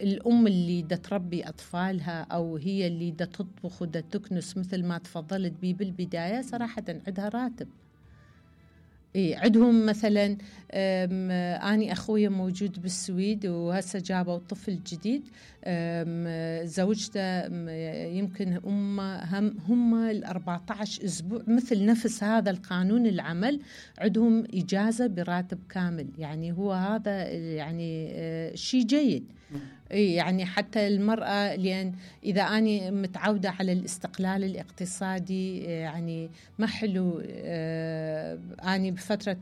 الأم اللي دا تربي أطفالها أو هي اللي دا تطبخ ودا تكنس مثل ما تفضلت بي بالبداية، صراحة عندها راتب. عندهم مثلا أني أخويا موجود بالسويد وهسه جابوا طفل جديد، زوجته يمكن هم 14 أسبوع مثل نفس هذا القانون العمل عندهم إجازة براتب كامل. يعني هو هذا يعني شيء جيد. يعني حتى المرأة، لأن إذا أنا متعودة على الاستقلال الاقتصادي يعني ما حلو أنا بفترة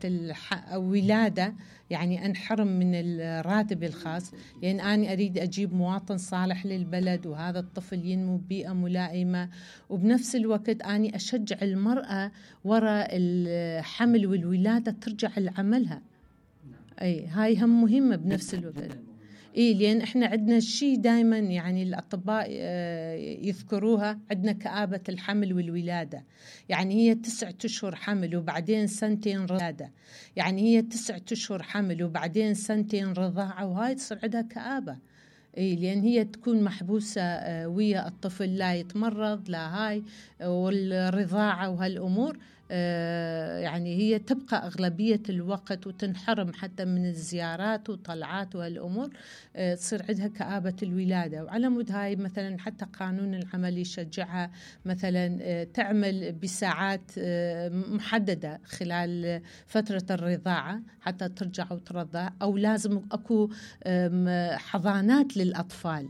الولادة يعني أنحرم من الراتب الخاص، لأن أنا أريد أجيب مواطن صالح للبلد وهذا الطفل ينمو ببيئة ملائمة. وبنفس الوقت أنا أشجع المرأة وراء الحمل والولادة ترجع لعملها. هاي هم مهمة بنفس الوقت. لأن إحنا عندنا شيء دائما يعني الأطباء يذكروها، عندنا كآبة الحمل والولادة. يعني هي 9 أشهر حمل وبعدين 2 رضاعة، يعني هي 9 أشهر حمل وبعدين 2 رضاعة، وهاي تصير عندها كآبة. لأن هي تكون محبوسة ويا الطفل، لا يتمرض لا هاي والرضاعة وهالأمور. يعني هي تبقى أغلبية الوقت وتنحرم حتى من الزيارات وطلعات وهالأمور، تصير عندها كآبة الولادة. وعلى مود هاي مثلا حتى قانون العمل يشجعها مثلا تعمل بساعات محددة خلال فترة الرضاعة حتى ترجع وترضع، أو لازم أكو حضانات للأطفال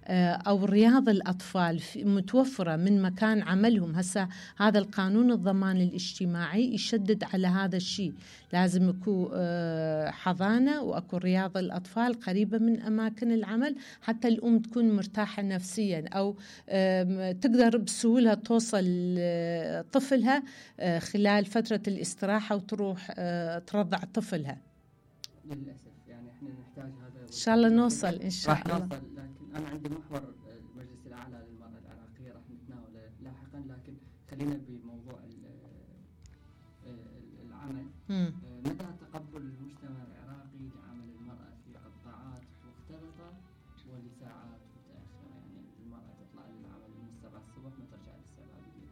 أو رياض الأطفال متوفرة من مكان عملهم. هسا هذا القانون الضمان الاجتماعي يشدد على هذا الشيء، لازم يكون حضانة وأكو رياض الأطفال قريبة من أماكن العمل حتى الأم تكون مرتاحة نفسيا، أو تقدر بسهولة توصل طفلها خلال فترة الاستراحة وتروح ترضع طفلها. للأسف يعني احنا نحتاج هذا إن شاء الله نوصل إن شاء الله. راح نوصل، لكن أنا عندي محور المجلس الأعلى للمرأة العراقية راح نتناوله لاحقا، لكن خلينا بموضوع العمل. متى تقبل المجتمع العراقي لعمل المرأة في قطاعات مختلطة ولساعات متأخرة؟ يعني المرأة تطلع للعمل من 7 الصبح ما ترجع للسبعة بالليل،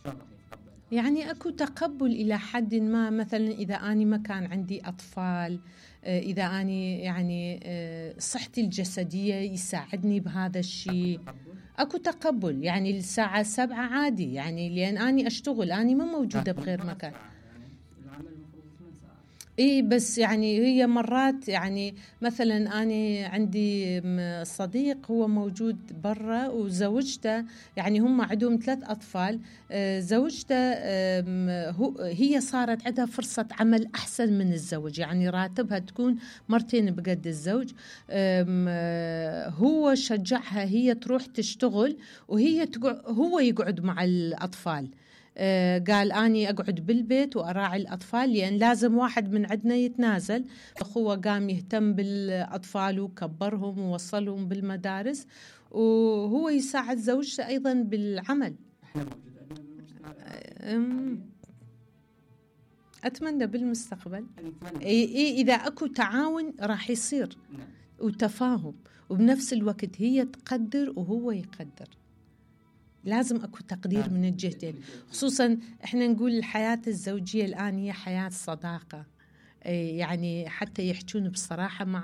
شلون راح يتقبلها؟ يعني أكو تقبل إلى حد ما. مثلا إذا أنا ما كان عندي أطفال، إذا أنا يعني صحتي الجسدية يساعدني بهذا الشيء، أكو تقبل. يعني الساعة 7 عادي، يعني لأن أنا أشتغل، أنا ما موجودة بغير مكان. بس يعني هي مرات يعني مثلا أنا عندي صديق هو موجود برا وزوجته، يعني هم عندهم 3 أطفال. زوجته هي صارت عندها فرصة عمل أحسن من الزوج، يعني راتبها تكون 2 بقد الزوج. هو شجعها هي تروح تشتغل هو يقعد مع الأطفال. قال أني أقعد بالبيت وأراعي الأطفال، لأن لازم واحد من عندنا يتنازل. أخوه قام يهتم بالأطفال وكبرهم ووصلهم بالمدارس، وهو يساعد زوجته أيضا بالعمل. أتمنى بالمستقبل إذا أكو تعاون راح يصير وتفاهم، وبنفس الوقت هي تقدر وهو يقدر. لازم أكو تقدير من الجهتين. خصوصا إحنا نقول الحياة الزوجية الآن هي حياة صداقة، يعني حتى يحجون بصراحة مع